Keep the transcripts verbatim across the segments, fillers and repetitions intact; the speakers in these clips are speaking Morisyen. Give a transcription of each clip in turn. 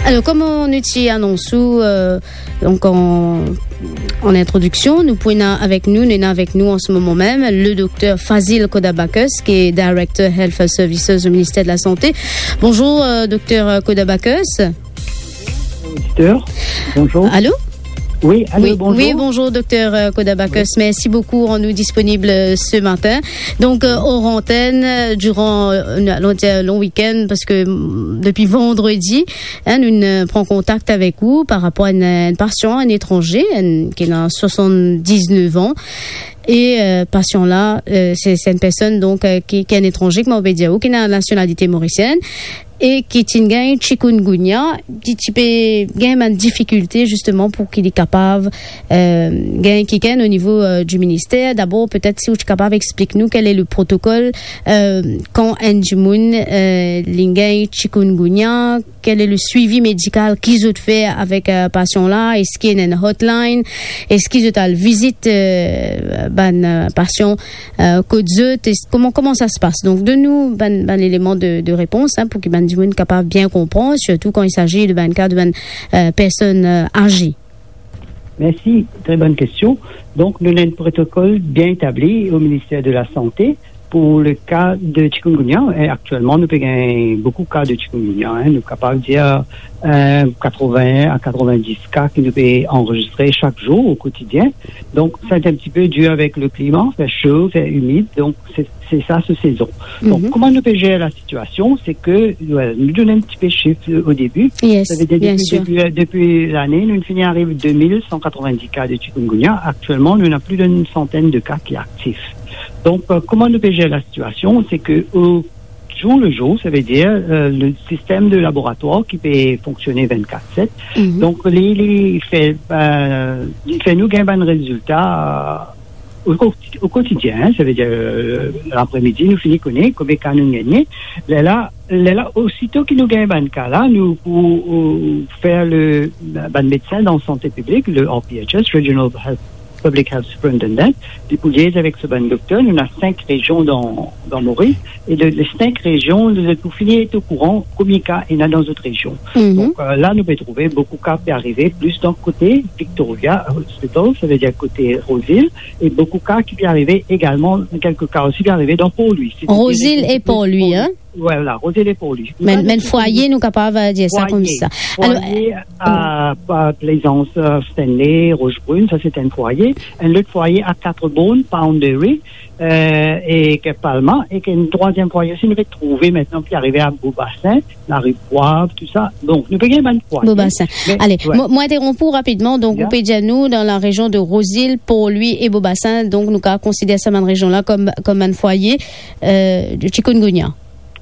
Alors, kouma nou ti anons ou, euh, donc en, en introduction, nou pou ena avek nou, nou ena avek nou en ce moment même, le docteur Fazil Kodabakos, qui est Director Health Services au ministère de la Santé. Bonjour, euh, docteur Kodabakos. Auditeur, bonjour. Allô ? Oui, allô, oui, bonjour. Oui, bonjour, docteur, euh, Kodabakos. Oui. Merci beaucoup, rann ou disponib, euh, ce matin. Donc, euh, hors antenne, euh, durant, euh, nou, nou dir long week-end, parce que, mm, depuis vendredi, hein, nou, euh, pran kontak avek ou par rapor a enn, enn pasian, enn etranze, enn, ki ena soixante-dix-neuf ans. E, euh, pasian la, euh, se, se enn personn, donk, euh, ki, ki enn etranze, kouma nou pe dir, ou ki ena nasionalite morisienn, e ki ti gagn chikungunya, ki ti pe gagn bann difikilte, zisteman, pou ki li kapav, euh, gagn kikenn o nivo, euh, di minister. Dabor, petet si ou ti kapav explik nou quel est le protocole, euh, kan enn dimoun, euh, li gagn chikungunya, quel est le suivi médical ki zot fer avek, euh, pasian la, eski ena enn hotline, eski zot al vizit, euh, bann, euh, pasian, euh, kot zot, es-, kouma, kouma sa se pas? Donk, donn nou bann, bann eleman de, de repons, hein, pou ki bann dimoun kapav bien konpran, sirtou kan il s'agit de bann ka de bann, euh, personn, euh, aze. Merci, très bonne question. Donc, nous avons un protocole bien établi au ministère de la Santé pour le cas de chikungunya. Et actuellement, nous avons beaucoup de cas de chikungunya, hein. Nous sommes capables de dire, euh, quatre-vingts à quatre-vingt-dix cas que nous pouvons enregistrer chaque jour au quotidien. Donc, c'est un petit peu dû avec le climat, fait chaud, fait humide. Donc, c'est, c'est ça, cette saison. Donc, mhm, comment nous pouvons gérer la situation, c'est que, voilà, nous donnons un petit peu de chiffres, euh, au début. Yes, bien sûr. Ça veut dire, depuis, depuis, euh, depuis l'année, nous finissons arriver deux mille cent quatre-vingt-dix cas de chikungunya. Actuellement, nous avons plus d'une centaine de cas qui sont actifs. Donc, euh, comment nous pouvons gérer la situation, c'est que au jour le jour, ça veut dire, euh, le système de laboratoire qui peut fonctionner vingt-quatre sept. Mhm. Donc, li, li fer, euh, li fer nou gagn bann rezilta, euh, au, au quotidien, hein, ça veut dire, euh, l'après-midi, nou fini kone konbien ka nou gagne. Lerla, lerla, osito ki nou gagn bann ka la, nou pou, euh, fer le, bann medsin dan sante piblik, le R P H S, Regional Health, Public Health Superintendent, li pou liaise avek so bann dokter. Nou ena sink rezion dan, dan Moris, e de, les sink rezion, nou pou fini et au courant konbien ka ena dan zot rezion. Mhm. Donc, euh, la, nou pe trouve boukou ka pe arive plis dan kote Victoria Hospital, ça veut dire kote Rose Hill, e boukou ka ki pe arive egalman, kelke ka osi pe arive dan Port Louis. Rose Hill e Port Louis, hein? Voilà, Rose Hill e Port Louis. Mem, mem fwaye, nou kapav, euh, dir sa koumsa. Fwaye, alor, fwaye, euh, a, a Plaisance, euh, Stanley, Rochebrune, sa se enn fwaye. Enn lot fwaye a Quatre Bornes, Poundary, euh, e ki Palma, e ki enn trwaziem fwaye osi, nou pe trouve aster ki arive a Beau Bassin, Larive Poivre, tou sa. Donk, nou pe gagn bann fwaye. Beau Bassin. Me, ale, ouais. Mo, mo interonp ou rapidman. Donk, yeah, ou pe dir nou, dan la rezion de Rose Hill, Port Louis e Beau Bassin, donk, nou kapav konsider sa bann rezion la kom, kom bann fwaye, euh, de chikungunya.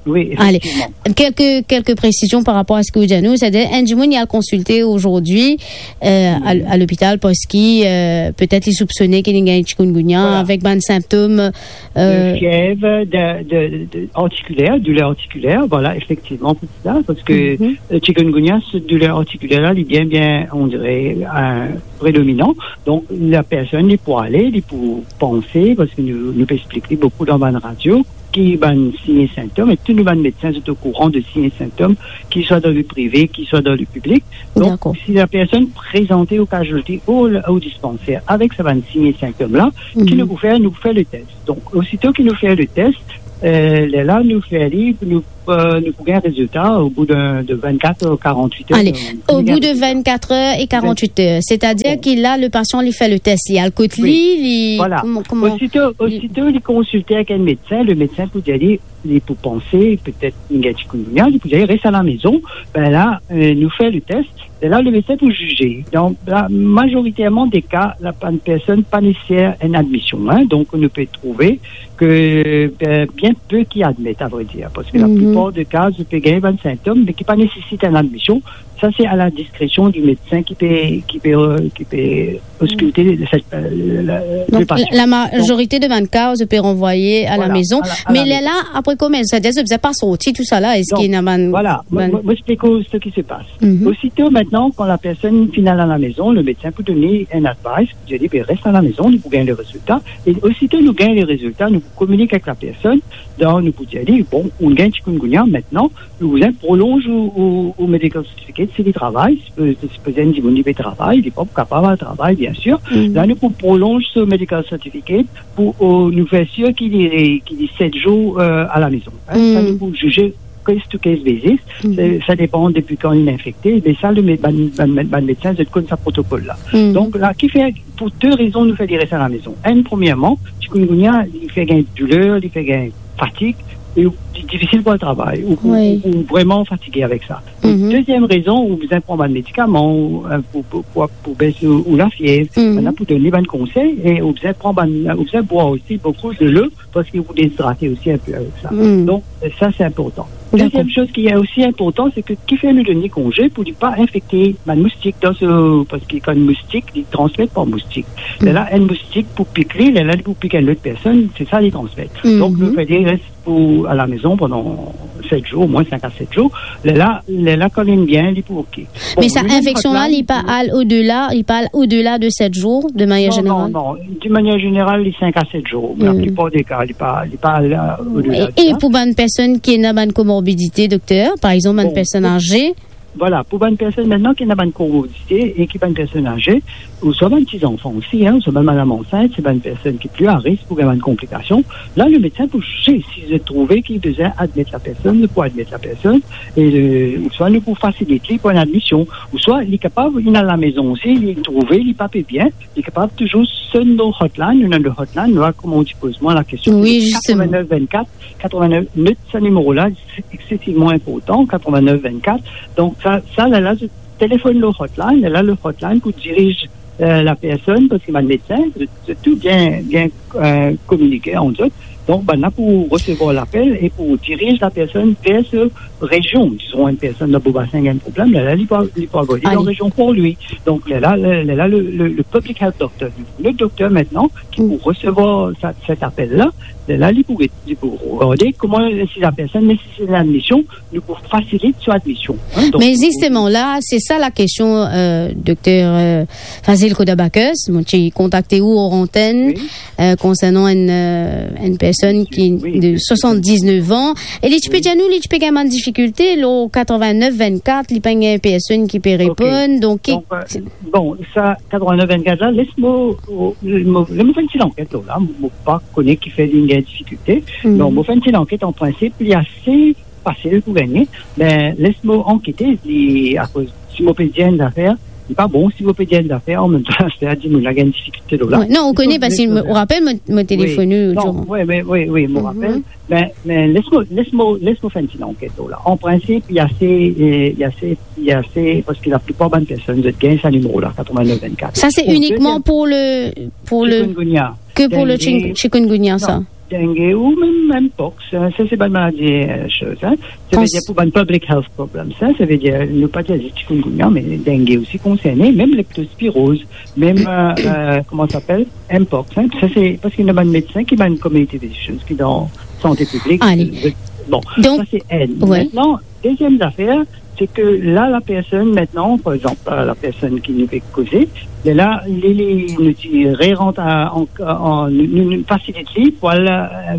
Oui, ale, efektivman. Kelke, kelke presizion par rapor a seki ou dir nou, setadir, enn dimoun, li al konsilte azordi, euh, a, a lopital, parski, euh, petet li soupsone ki li gagn chikungunya, voilà, avek bann sintom, euh, de fiev, de, de, de articuler, douleur articulaire, voilà, efektivman, pou sa, parski, mhm, euh, chikungunya, se douleur articulaire la, li bien, bien, on dirait, euh, prédominant. Donk, la personn, li pou ale, li pou panse, parski nou, nou pe explik li boukou dan bann radio, ki bann sign e sintom, e tou nou bann medsin, zot okouran de sign e sintom, ki swa dan le prive, ki swa dan le piblik. Donk, dakor, si la personn prezante o casualty ou, o dispanser avek sa bann sign e sintom la, mhm, ki nou pou fer, nou pou fer le tes. Donk, osito ki nou fer le tes, euh, lerla nou fer li, nou, euh, nou pou gagn rezilta o bou de, de vingt-quatre ou quarante-huit heures. Ale, euh, o bou de vingt-quatre heures et quarante-huit heures. Setadir, bon, ki la, le pasian, li fer le tes, li al kot li, oui, li, voilà, kouma, kouma, osito, li, osito li konsilte avek enn medsin, le medsin pou dir li, li pou panse, petet li gagn chikungunya, li pou dir, res a la maison, be la, euh, nou fer le tes, e la, le medsin pou zize. Dan la, mazoriterman de ka, la, bann personn pa neseser enn admision, hein. Donk, nou pe trouve ke, euh, bien pe ki admet, a vre dir, parski, mhm, laplipar de ka, zot pe gagn bann sintom, me ki pa nesesit enn admision. Sa, se a la diskresion di medsin ki pe, ki pe, euh, ki pe oskilte, euh, le pasian. Donk, la, la mazorite de bann ka, zot pe ranvwaye a la mezon. Donk, voilà, a la, a la mezon. Me lerla, apre Kouma sa, zot bizin pa sorti, tou sa la, eski ena bann, vwala, mo, bann mo, mo explik ou seki se pas. Osito, mintnan, kan lapersonn finn al alamezon, lemedsin pou donn li enn advice, pou dir li, "Be, res alamezon, nou pou gagn lerezilta." E osito nou gagn lerezilta, nou pou kominik avek lapersonn, donk nou pou dir li, "Bon, ou gagn chikungunya, mintnan, nou bizin prolonz ou, ou, ou medical certificate, si li travay, sipoze, sipoze enn dimoun li pe travay, li pa pou kapav al travay, biensir. La, nou pou prolonz so medical certificate, pou, o, nou fer sir ki li, ki li set zour, eh, alamezon." Sa, nou pou zize case to case basis. Sa, sa depann depi kan li infekte. Me sa, le me-, bann, bann, bann medsin, zot konn sa protokol la. Donk, la, kifer, pou de rezon, nou fer li res alamezon. Enn, premierman, chikungunya, li fer gagn douler, li fer gagn fatig, e li difisil pou al travay, ou, ou, ou vreman fatige avek sa. E deziem rezon, ou bizin pran bann medikaman, ou, eh, pou, pou, pou, pou bes ou, ou lafiev, bann la pou donn li bann konsey, e ou bizin pran bann, ou bizin bwar osi boukou delo, parski ou dezidrate osi enpe avek sa. Donk, eh, sa, se inportan. Dakor. Deziem soz ki osi inportan, se ke kifer nou donn li konze pou li pa infekte bann moustik dan so, parski kan moustik, li transmet par moustik. Lerla enn moustik pou pik li, lerla li pou pik enn lot personn, se sa li transmet. Donk, nou fer li res pou, alamezon pandan set zour, omwin sink a set zour. Lerla, lerla kan li bien, li pou oke. Bon, me sa, nou, infeksion la, hotline, li pa al odela, li pa al odela de set zour, de manier zeneral? Non, non, non. De manier zeneral, li sink a set zour. Laplipar de ka, li pa, li pa al, eh, odela de sa. E, e pou bann personn ki ena bann komorbidite, dokter, par exanp, bann personn aze? Bon, pou, vwala, pou bann personn mintnan ki ena bann komorbidite e ki bann personn aze, ouswa bann ti zanfan osi, hein, ouswa bann madam ansint, se bann personn ki pli a risk pou gagn bann konplikasion. La, lemedsin pou zize si zot trouve ki bizin admet lapersonn, zot pou admet lapersonn, e, eh, ouswa nou pou fasilit li pou enn admision, ouswa li kapav, li al alamezon osi, li trouve li pa pe bien, li kapav touzour sonn nou hotline, nou ena nou hotline, nou a kouma ou ti poz mwa lakestion, wi, zisteman, katrevin-nef vinn-kat, katrevin-nef, not sa nimero la, se exsesivman inportan, katrevin-nef vinn-kat. Donk, sa, sa, lerla, zot telefonn lor hotline, lerla, le hotline pou diriz, eh, lapersonn, parski bann medsin, zot, zot tou bien, bien, eh, kominike ant zot. Donk, bann la pou resevwar lapel e pou diriz lapersonn ver so rezion. Dizon, enn personn dan Beau Bassin gagn problem, lerla, li pou, li pou avoy li dan rezion pou li. Donk, lerla, le, lerla, le, le, le public health doctor, le dokter mintnan, ki pou resevwar sa, set apel la, lerla, li pou, li pou regarde kouma, si lapersonn neseser ladmision, nou pou fasilit so admision, hein, donk, me zisteman, la, se sa lakestion, eh, dokter, eh, Fazil Khodabakhsh, mo ti kontakte ou or antenn, eh, konsernan enn, eh, enn personn ki de swasann-diz-nef an, e li ti pe dir nou, li ti pe gagn bann difikilte, lor katrevin-nef vinn-kat, li pa gagn personn ki pe reponn, donk ki... Donk, eh, bon, sa, katrevin-nef vinn-kat la, les mo, mo, mo, mo fer enn ti lanket lor la, mo pa kone kifer li gagn difikilte. Non, mo fer enn ti lanket, an prinsip, li ase fasil pou gagne, me les mo ankete, li, akoz si mo pe dir enn zafer, li pa bon si mo pe dir enn zafer, anmemtan zafer dimoun la gagn difikilte lor la. Wi, non, ou kone, parski mo, ou rapel, mo, mo telefone ou, non, wi, wi, wi, wi, mo rapel. Me, me les mo, les mo, les mo fer enn ti lanket lor la. An prinsip, li ase, eh, li ase, li ase, parski laplipar bann personn, zot gagn sa nimero la, katrevin-nef vinn-kat. Sa, se inikman pou le, pou le, chikungunya, ke pou le chik-, chikungunya, sa? Dengue ou mem, mem mpox, hein, sa se bann maladi, eh, soz, hein. Savedir pou bann public health problems, hein, savedir, nou pa dir zis chikungunya, me dengue osi konserne, mem leptospiroz, mem, eh, eh, kouma sa apel, mpox, hein. Sa se parski nou bann medsin ki bann community physicians ki dan sante piblik. Ale. Bon, donk, sa se enn. Wi. Mintnan, deziem zafer, se ke la, lapersonn mintnan, par exanp, eh, lapersonn ki nou pe koze, lerla, li, li, nou ti rerant a, an, an, nou, nou, nou fasilit li pou al, eh,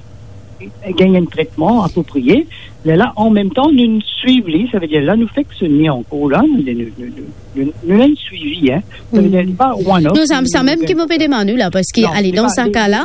gagn enn tretman apropriye. Lerla, anmemtan, nou swiv li, savedir la, nou fek sonn li ankor la, nou, nou, nou, nou, nou, nou ena enn swivi, hein. Savedir, li pa one off. Non, sa, sa mem ki mo pe demann ou la, parski, ale, dan sa ka la,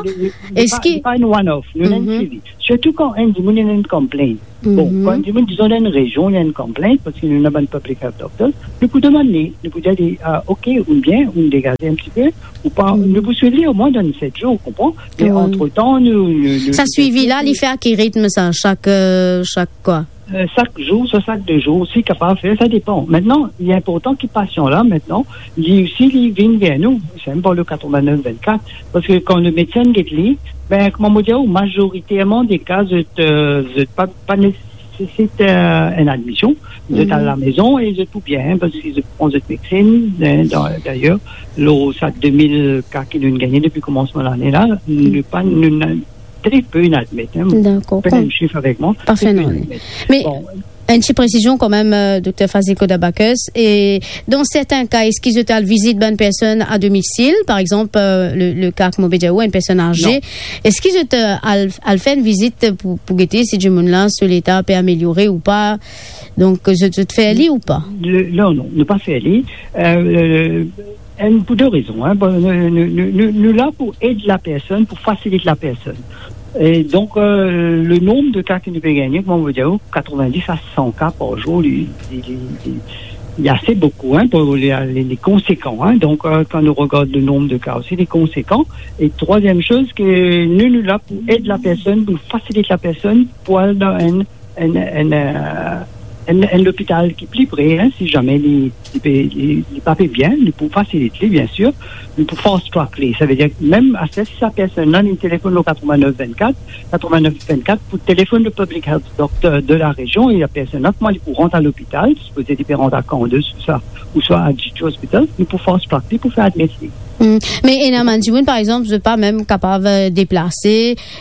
eski li pa enn one off, nou ena enn swivi. Sirtou kan enn dimoun ena enn complaint. Bon, kan enn dimoun, dizon, dan enn rezion, ena enn complaint, parski nou ena bann public health doctors, nou pou demann li, nou pou dir li, ah, ok, ou bien, ou degaze enn tipe, ou pa, nou pou swiv li omwin dan set zour, ou konpran? Me antretan, nou, nou, nou, sa swivi la, li fer a ki ritm sa, sak, eh, sak kwa? Eh, sak zour, swa sak de zour, si kapav fer, sa depann. Mintnan, li inportan ki pasian la, mintnan, li osi, li vinn ver nou, se mem par le katrevin-nef vinn-kat, parski kan lemedsin get li, be, kouma mo dir ou, mazoriterman de ka, zot, eh, zot pa, pa nesesit, eh, enn admision, zot al lamezon e zot pou bien, parski zot pran zot medsin, eh, da-, dayer, lor sa de mil ka ki nou gagne depi koumansman lane la, nou pa, nou, nou, tre pe inn admet, hein. Dakor. Pena enn sif avek mwa, tre pe inn admet. Me enn ti presizion kanmem, euh, Dokter Fazil Kodabakes, e dan sertin ka, eski zot al vizit bann personn a domisil, par exanp, euh, le, le ka ki mo pe dir ou, enn personn aze, eski zot, euh, al, al fer enn vizit pou, pou gete si dimoun la, so leta pe ameliore ou pa? Donk, zot, zot fer li ou pa? Le, non, non, nou pa fer li. Euh, euh, euh, pou de rezon, hein. Bon, nou, nou, nou, nou, nou la pou ed lapersonn, pou fasilit lapersonn. E donk, euh, le nonb de ka ki nou pe gagne, kouma mo dir ou, katrevin-dis a san ka par zour, li, li, li, li, li ase boukou, hein, pou li, li, li konsekan, hein. Donk, euh, kan nou regard le nonb de ka osi, li konsekan. E trwaziem soz, ke nou, nou la pou ed lapersonn, pou fasilit lapersonn pou al dan enn enn, enn, euh, enn, enn lopital ki pli pre, hein, si zame li, li pe, li, li pa pe bien, nou pou fasilit li, biensir, nou pou fast track li. Savedir mem aster, si sa personn la, li telefonn lor katrevin-nef vinn-kat, katrevin-nef vinn-kat, pou telefonn le public health doctor de la région, e la personn la, kouma li pou rant a lopital, sipoze li pe rant a Candace ouswa, ouswa a Djidji Hospital, nou pou fast track li, pou fer admet li. Hmm. Me ena bann dimoun, par exanp, zot pa mem kapav, euh, deplase,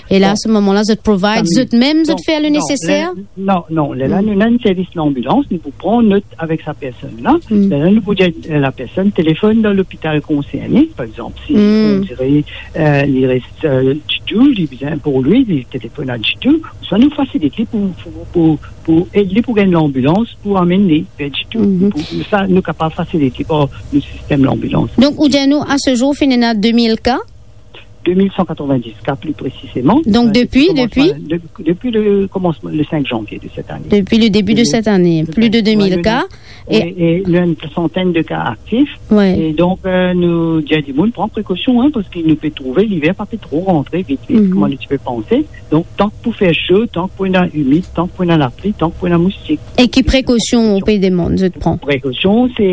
e la, a se moman la, zot provide, zot mem, zot fer le neseser? Non, non, lerla, nou ena enn servis lanbilans, nou pou pran not avek sa personn la. Lerla, nou pou dir, euh, lapersonn telefonn dan lopital konserne, par exanp, si, on dirait, euh, li res, euh, Djidji, li bizin pou li, li telefonn a Djidji, swa nou fasilit li pou, pou, pou, pou ed li pou gagn lanbilans, pou amenn li ver Djidji. Pou, pou sa, nou kapav fasilit li par nou sistem lanbilans. Donk, ou dir nou, a se zour, finn ena de mil ka? De mil san katrevin-dis ka, pli presizeman. Donk, euh, depi, depi komansman, depi le komansman, le sink zanvie de sèt ane. Depi le debi de sèt ane, pli de de mil ka. E, e nou ena enn santenn de ka aktif. E donk, euh, nou dir dimoun pran prekosion, hein, parski nou pe trouve liver pa pe tro rantre vit, vit, kouma nou ti pe panse. Donk, tank pou fer so, tank pou ena imid, tank pou ena lapli, tank pou ena moustik. E ki prekosion ou pe demann zot pran? Prekosion, se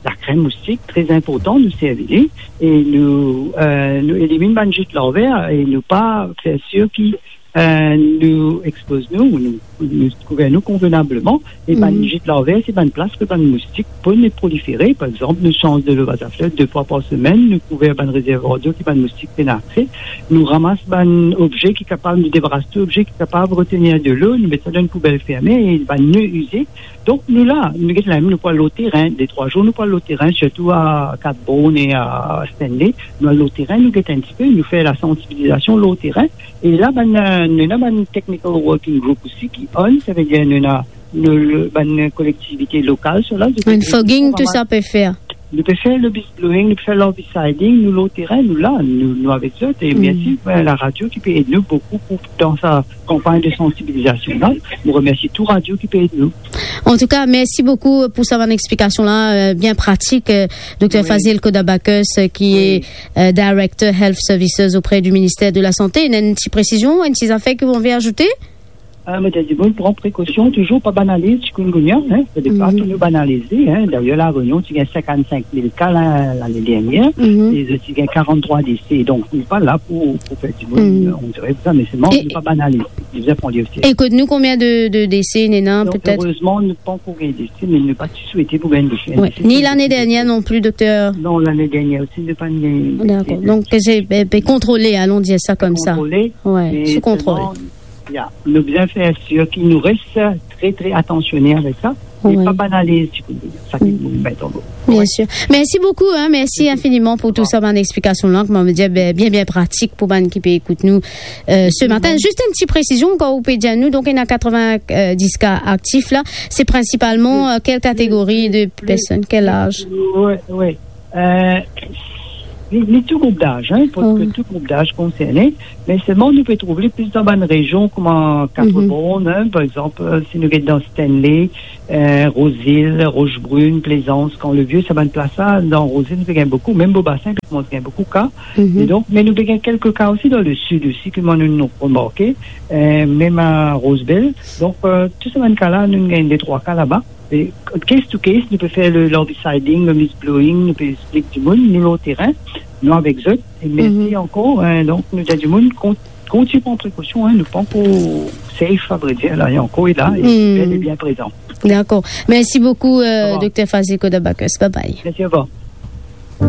lakrem moustik, tre inportan, nou servi li, e nou, euh, nou eliminn bann zit larver, e nou pa fer sir ki, euh, nou expoz nou, nou, nou kouver nou konvenableman, e bann zit larver, se bann plas kot bann moustik pe prolifere. Par exanp, nou sanz delo baz a flot de fwa par semenn, nou kouver bann rezervwar dlo ki bann moustik pena akse, nou ramas bann obze ki kapav, nou debaras tou obze ki kapav retenir delo, nou met sa dan enn poubel ferme, e bann ne ize, Donk, nou la, nou get la, nou pou al lor terin, de trwa zour, nou pou al lor terin, sirtou a Cat Bourne e a Stanley. Nou al lor terin, nou get enn tipe, nou fer lasansibilizasion lor terin. E la, bann, euh, nou ena bann technical working group osi ki on, savedir nou ena nou, le, bann kolektivite lokal, so la, zot pe... Enn fogging, tou sa pe fer. Nou pe fer le bush blowing, nou pe fer l'herbicide, nou lor terin, nou la, nou, nou avek zot, e mersi, euh, laradio ki pe ed nou boukou pou, dan sa kanpagn de sansibilizasion la. Nou remersi tou radio ki pe ed nou. Antouka, mersi boukou pou sa bann explikasion la, euh, bien pratik, euh, Dokter Fazil Kodabakes, euh, ki e, euh, Director Health Services auprès du ministère de la Santé. Ena enn ti presizion, enn ti zafer ki ou anvi azoute? Ah, mo dir dimoun, pran prekosion, touzour pa banaliz chikungunya, hein. Fode pa tou nou banaliz li, hein. Dayer, La Réunion ti gagn sinkant-sink mil ka la, lane dernier, e zot ti gagn karant-trwa dese. Donk, nou pa la pou, pou fer dimoun, euh, on dirait sa, me selman, nou pa banaliz. Nou bizin pran li o seriye. E kot nou, konbien de, de dese ena, petet? Erezman, nou pa ankor gagn dese, me nou pa ti swete pou gagn dese. Ni lane dernier non pli, dokter? Non, lane dernier osi, nou pa gagn dese. Dakor. Donk, se, pe, pe kontrole, alon dir sa koumsa. Kontrole, me sou kontrol. Selman, Ya, nou bizin fer sir ki nou res tre, tre atansione avek sa, e pa banaliz chikungunya, sa ki nou met an mo. Bien sir. Mersi boukou, hein, mersi infiniman pou tou sa bann explikasion la, kouma nou dir, bien, bien, bien pratik pou bann ki pe ekout nou, euh, se matin. Zis enn ti presizion, kan ou pe dir nou, donk, ena katrevin-dis ka aktif la, se prinsipalman, euh, kel kategori de personn, kel laz? Wi, wi. Euh, ni, ni tou group daz, hein, parski tou group daz konserne, me selman nou pe trouv li plis dan bann rezion kouma Quatre Bornes, hein, par exanp, euh, si nou get dan Stanley, euh, Rose Hill, Rochebrune, Plaisance, Camp-le-Vieux, sa bann plas la, dan Rose Hill nou pe gagn boukou, mem Beau-Bassin, pe koumans gagn boukou ka. E donk, me nou pe gagn kelke ka osi dan lesid osi, ki mwa nou, nou remarke, euh, mem a Rosebel. Donk, euh, tou sa bann ka la, nou gagn de trwa ka laba. E case to case, nou pe fer le, l'herbicide, le mist blowing, nou pe explik dimoun, nou lor terin, nou avek zot, e mersi ankor, hein, donk nou dir dimoun, kon-, kontign pran prekosion, hein, nou pa ankor safe, a vre dir, la, e ankor e la, e bel e bien prezan. Dakor. Mersi boukou, euh, Dokter Fazil Kodabakes. Bye bye. Mersi, orevwar.